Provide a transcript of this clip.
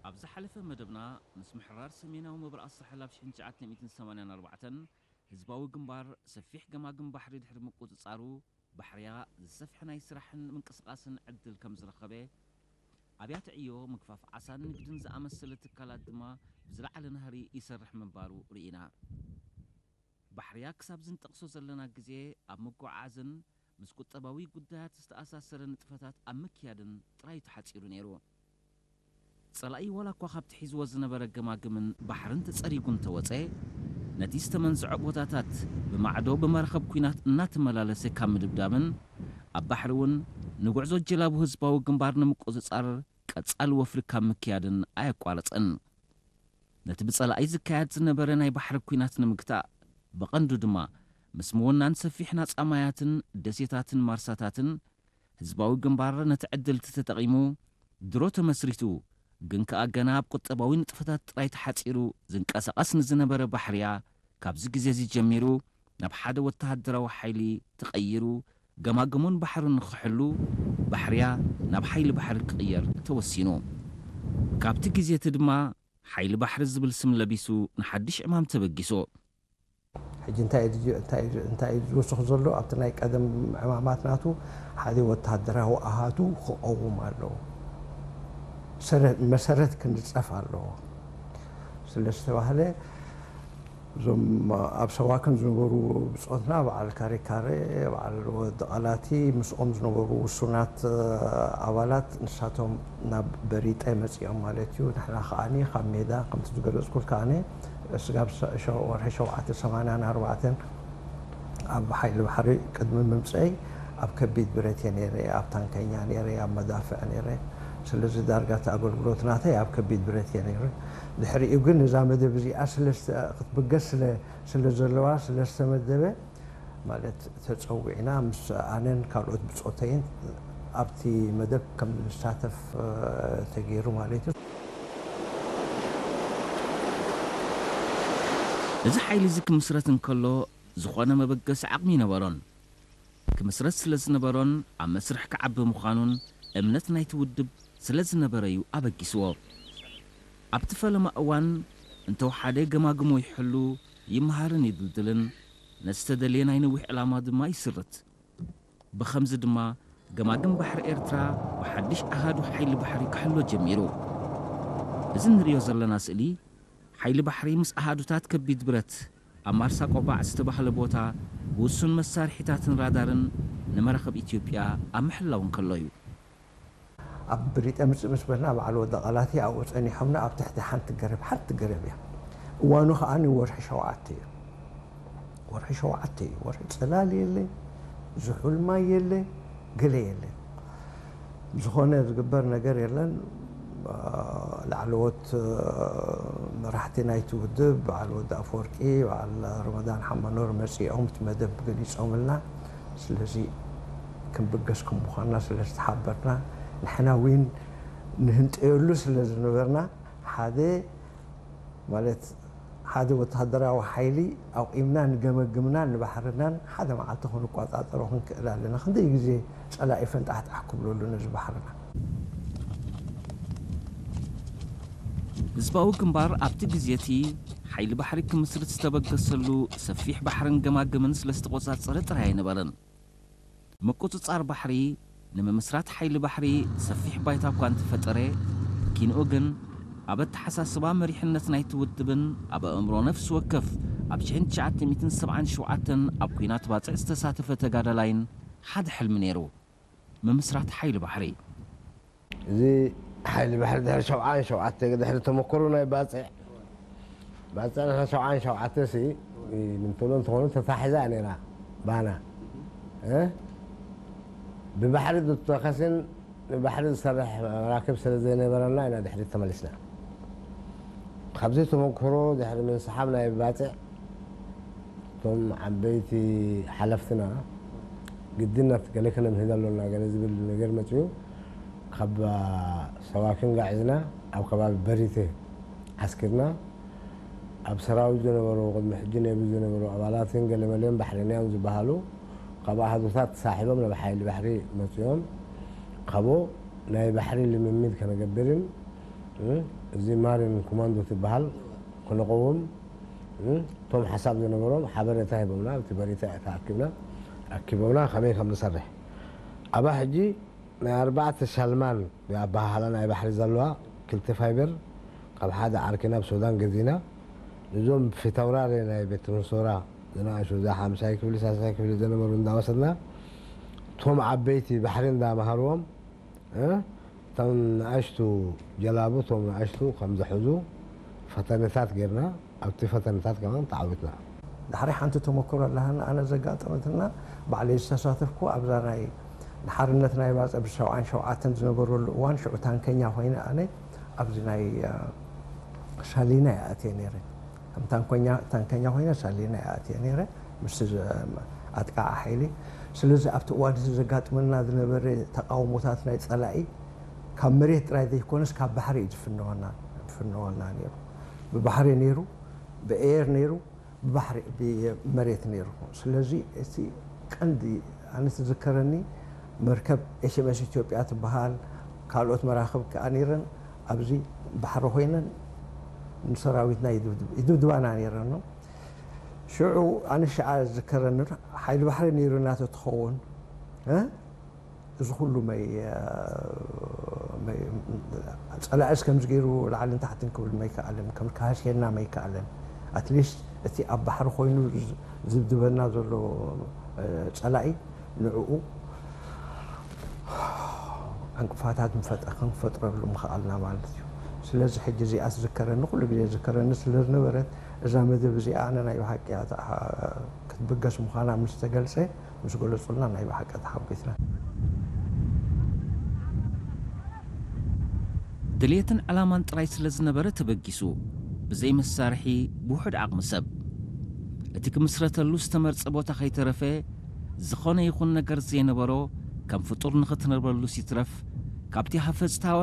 ኣብ ዝሓለፈ መደብና፣ ምስ ምሕራር ሰሜናዊ ምብራቕ ሳሕል ኣብ ሽሕን ትሽዓተ ሚእትን ሰማንያን ኣርባዕተን፣ ህዝባዊ ግንባር ሰፊሕ ገማግም ባሕሪ ድሕሪ ምቁጽጻሩ፣ ባሕርያ ዝሰፍሐ ናይ ስራሕን ምንቅስቓስን ዕድል ከም ዝረኸበ፣ ኣብያተ ዕዮ፣ ምግፋፍ ዓሳን ንግድን ዝኣመሰለ ትካላት ድማ ብዝለዓለ ናህሪ ይሰርሕ ምንባሩ ርኢና። ባሕርያ ክሳብ ዝንጠቕሶ ዘለና ግዜ ኣብ ምጉዕዓዝን ምስ ቁጠባዊ ጉዳያት ዝተኣሳሰረ ንጥፈታት ኣብ ምክያድን ጥራይ ተሓጺሩ ነይሩ። ጸላኢ ዋላ እኳ ካብቲ ሒዝዎ ዝነበረ ገማግምን ባሕርን ተጸሪጉ እንተወጸ፣ ነቲ ዝተመንዝዖ ቦታታት ብማዕዶ ብመራኸብ ኲናት እናተመላለሰ ካብ ምድብዳብን ኣብ ባሕሪ እውን ንጉዕዞ ጀላቡ ህዝባዊ ግንባር ንምቁጽጻር ቀጻሊ ወፍሪ ካብ ምክያድን ኣየቋረጸን። ነቲ ብጸላኢ ዝካየድ ዝነበረ ናይ ባሕሪ ኲናት ንምግታእ፣ ብቐንዱ ድማ ምስ ምውናን ሰፊሕ ናጻ ማያትን ደሴታትን ማርሳታትን፣ ህዝባዊ ግንባር ነቲ ዕድል እቲ ተጠቒሙ ድሮ ተመስሪቱ፣ ግን ከኣ ገና ኣብ ቁጠባዊ ንጥፈታት ጥራይ ተሓጺሩ ዝንቀሳቐስ ንዝነበረ ባሕርያ፣ ካብዚ ግዜ እዚ ጀሚሩ ናብ ሓደ ወተሃደራዊ ሓይሊ ተቐይሩ፣ ገማግሙን ባሕሩን ንኽሕሉ፣ ባሕርያ ናብ ሓይሊ ባሕሪ ክቕየር ተወሲኑ። ካብቲ ግዜ እቲ ድማ ሓይሊ ባሕሪ ዝብል ስም ለቢሱ ንሓድሽ ዕማም ተበጊሱ። ሕጂ እንታይ እዩ ዝጅ-፣ እንታይ እዩ፣ እንታይ እዩ ዝውስኽ ዘሎ? ኣብቲ ናይ ቀደም ዕማማት ናቱ ሓደ ወተሃደራዊ ኣሃዱ ክቐውም ኣለዎ። ሰረ-፣ መሰረት ክንጸፍ ኣለዎ ስለ ዝተባህለ፣ እዞም ኣብ ሰዋክን ዝነበሩ ብጾትና፣ በዓል ካሬካሬ፣ በዓል ወዲ ቐላቲ፣ ምስኦም ዝነበሩ ውሱናት፣ እ፣ ኣባላት፣ ንሳቶም ናብ በሪጠ መጺኦም ማለት እዩ። ንሕና ከኣኒ ካብ ሜዳ፣ ከምቲ ዝገለጽኩልካ፣ ኣነ ስጋብ ሰ-፣ ሸ-፣ ወርሒ ሸውዓተ ሰማንያን ኣርባዕተን ኣብ ሓይሊ ባሕሪ ቅድሚ ምምጸይ ኣብ ከቢድ ብረት እየ ነይረ፣ ኣብ ታንከኛ ነይረ፣ ኣብ መዳፍዕ ነይረ። ስለዚ ዳርጋ እቲ ኣገልግሎት ናተይ ኣብ ከቢድ ብረት እየ ነይረ። ድሕሪኡ ግን እዛ መደብ እዚኣ ስለ ዝተ-፣ ክትብገስ ስለ፣ ስለ ዘለዋ፣ ስለ ዝተመደበ፣ ማለት ተጸዊዕና ምስ ኣነን ካልኦት ብጾተይን ኣብቲ መደብ ከም ንሳተፍ፣ እ፣ ተገይሩ ማለት እዩ። እዚ ሓይሊ እዚ ክምስረት እንከሎ፣ ዝኾነ መበገሲ ዓቕሚ ይነበሮን። ክምስረት ስለ ዝነበሮን ኣብ መስርሕ ክዓቢ ምዃኑን እምነት ናይቲ ውድብ ስለ ዝነበረ እዩ ኣበጊስዎ። ኣብቲ ፈለማ እዋን እንተወሓደ ገማግሞ ይሕሉ፣ ይመሃርን ይድልድልን፣ ነቲ ዝተደልየ ናይ ነዊሕ ዕላማ ድማ ይስርት። ብኸምዚ ድማ ገማግም ባሕሪ ኤርትራ ብሓድሽ ኣሃዱ ሓይሊ ባሕሪ ክሕሎ ጀሚሩ። እዚ እንርእዮ ዘለና ስእሊ፣ ሓይሊ ባሕሪ ምስ ኣሃዱታት ከቢድ ብረት ኣብ ማርሳ ቆባዕ ዝተባህለ ቦታ ብውሱን መሳርሒታትን ራዳርን ንመራኽብ ኢትዮጵያ ኣብ ምሕላው እንከሎ እዩ። ኣብ ብሪጠ ምጽእ ምስ በልና፣ በዓል ወዲ ቐላቲ ኣብኡ ጸኒሖምና፣ ኣብ ትሕቲ ሓንቲ ገረብ፣ ሓንቲ ገረብ እያ። እዋኑ ከኣ ንወርሒ ሸውዓተ እዩ። ወርሒ ሸውዓተ እዩ። ወርሒ ጽላል የለ፣ ዝሑል ማይ የለ፣ ገለ የለ። ዝኾነ ዝግበር ነገር የለን። ላዕለዎት መራሕቲ ናይቲ ውድብ፣ በዓል ወዲ ኣፈወርቂ፣ በዓል ረመዳን ሓመኖር መጺኦም እቲ መደብ ገሊጾምልና። ስለዚ ክንብገስ ከም ምዃንና ስለ ዝተሓበርና፣ ንሕና እውን ንህንጠየሉ ስለ ዝነበርና፣ ሓደ ማለት ሓደ ወተሃደራዊ ሓይሊ ኣቑምና ንገመግምናን ንባሕርናን ሓደ መዓልቲ ክንቋጻጸሮ ክንክእል ኣለና። ክንደይ ግዜ ጸላኢ ፈንጣሕጣሕ ክብለሉ ነዚ ባሕርና። ህዝባዊ ግንባር ኣብቲ ግዜ እቲ ሓይሊ ባሕሪ ክምስርት ዝተበገሰሉ ሰፊሕ ባሕርን ገማግምን ስለ ዝተቖጻጸረ ጥራይ ኣይነበረን። ምቁጽጻር ባሕሪ ንምምስራት ሓይሊ ባሕሪ ሰፊሕ ባይታ እኳ እንተፈጠረ፣ ኪንኡ ግን ኣብ ኣተሓሳስባ መሪሕነት ናይቲ ውድብን ኣብ ኣእምሮ ነፍሲ ወከፍ ኣብ ሽሕን ትሽዓተ ሚእትን ሰብዓን ሸውዓተን ኣብ ኲናት ባጽዕ ዝተሳተፈ ተጋዳላይን ሓደ ሕልሚ ነይሩ፣ ምምስራት ሓይሊ ባሕሪ። እዚ ሓይሊ ባሕሪ ድሕሪ ሸብዓን ሸውዓተ፣ ድሕሪ ተመክሮ ናይ ባጽዕ፣ ባጽዕ ንሕና ሸብዓን ሸውዓተ ሲ፣ ንምትብሎ እንተኾኑ ተታሒዛ እያ ነይራ ባና። እ? ብባሕሪ ዝተኸስን ንባሕሪ ዝሰርሕ መራክብ ስለ ዘይነበረና ኢና ድሕሪት ተመሊስና። ካብዚ ተመክሮ ድሕሪ ምንስሓብ ናይ ባጽዕ፣ እቶም ዓበይቲ ሓለፍትና ግድነት ገለ ከነምህድ ኣሎና ገለ ዝብል ነገር መጺኡ፣ ካብ ሰዋኪን ጋዒዝና ኣብ ከባቢ በሪተ ዓስኪርና፣ ኣብ ሰራዊት ዝነበሩ፣ ቅድሚ ሕጂ ነቢ ዝነበሩ ኣባላትን ገለመለን ባሕረኛን ዝበሃሉ ካብ ኣሃዱታት ተሳሒቦም ናብ ሓይሊ ባሕሪ መጺኦም፣ ካብኡ ናይ ባሕሪ ልምምድ ከነገብርን እዚ ማሪን ኮማንዶ ትበሃል ክንቐውም እቶም ሓሳብ ዝነበሮም ሓበሬታ ሂቦምና። ኣብቲ በሪታ ተኣኪብና ኣኪቦምና ከመይ ከም ንሰርሕ። ኣብኣ ሕጂ ናይ ኣርባዕተ ሻልማን ኣበሃህላ ናይ ባሕሪ ዘለዋ ክልተ ፋይበር ካብ ሓደ ዓርኪና ኣብ ሱዳን ገዚና፣ ንዞም ፊታውራሪ ናይ ቤት መንሶራ ዝነኣሹ፣ እዛ ሓምሳይ ክፍሊ ሳሳይ ክፍሊ ዝነበሩ እንዳወሰድና፣ እቶም ዓበይቲ ባሕሪ እንዳመሃርዎም፣ እቶም ንኣሽቱ ጀላቡ እቶም ንኣሽቱ ከም ዝሕዙ ፈተነታት ጌርና፣ ኣብቲ ፈተነታት ከማን ተዓዊትና። ዳሕሪ ሓንቲ ተመክሮ ኣለሃና ኣነ ዘጋጠመትና፣ ባዕለይ ዝተሳተፍኩ ኣብዛ ናይ ንሓርነት ናይ ባፀ ብሰብዓን ሸውዓተን ዝነበረሉ እዋን ሽዑ ታንከኛ ኮይነ ኣነ ኣብዚ ናይ ሳሊና ይኣትየ ነይረ። ከም ታንከኛ ኮይነ ሳሊና ይኣትየ ነይረ ምስ ኣጥቃዓ ሓይሊ። ስለዚ ኣብቲ እዋን እዚ ዘጋጥመና ዝነበረ ተቃውሞታት ናይ ፀላኢ ካብ መሬት ጥራይ ዘይኮነስ ካብ ባሕሪ እዩ ዝፍነወና ነይሩ። ብባሕሪ ነይሩ፣ ብኤር ነይሩ፣ ብባሕሪ ብመሬት ነይሩ። ስለዚ እቲ ቀንዲ ኣነ ዝዝከረኒ መርከብ ኤች ኤም ኤስ ኢትዮጵያ ትበሃል፣ ካልኦት መራኽብ ከኣ ነይረን ኣብዚ ባሕሪ ኮይነን ንሰራዊትና ይድብድባና ነይረን። ሽዑ ኣነ ሽዓ ዝዝከረኒ ሓይሊ ባሕሪ ነይሩ እናተትኸውን እዚ ኩሉ መይ ፀላእስ ከምዚ ገይሩ ላዕልን ታሕትን ክብል መይከኣለን ከም ካህስየና መይከኣለን ኣትሊስት እቲ ኣብ ባሕሪ ኮይኑ ዝድብድበና ዘሎ ፀላኢ ንዕኡ ዕንቅፋታት ክንፈጥረሉ ምኽኣልና ማለት እዩ። ስለዚ ሕጂ እዚኣ ትዝከረኒ ኩሉ ግዜ ዝከረኒ ስለዝነበረት እዛ መደብ እዚኣ ኣነ ናይ ብሓቂ ክትብገስ ምዃና ምስ ተገልፀ ምስ ገለጹልና ናይ ብሓቂ ተሓጒስና። ድልየትን ዕላማን ጥራይ ስለ ዝነበረ ተበጊሱ፣ ብዘይ መሳርሒ ብውሑድ ዓቕሚ ሰብ። እቲ ክምስረተሉ ዝተመርጸ ቦታ ከይተረፈ፣ ዝኾነ ይኹን ነገር ዘይነበሮ፣ ከም ፍጡር ንኽትነብረሉስ ይትረፍ፣ ካብቲ ሃፈጽታወን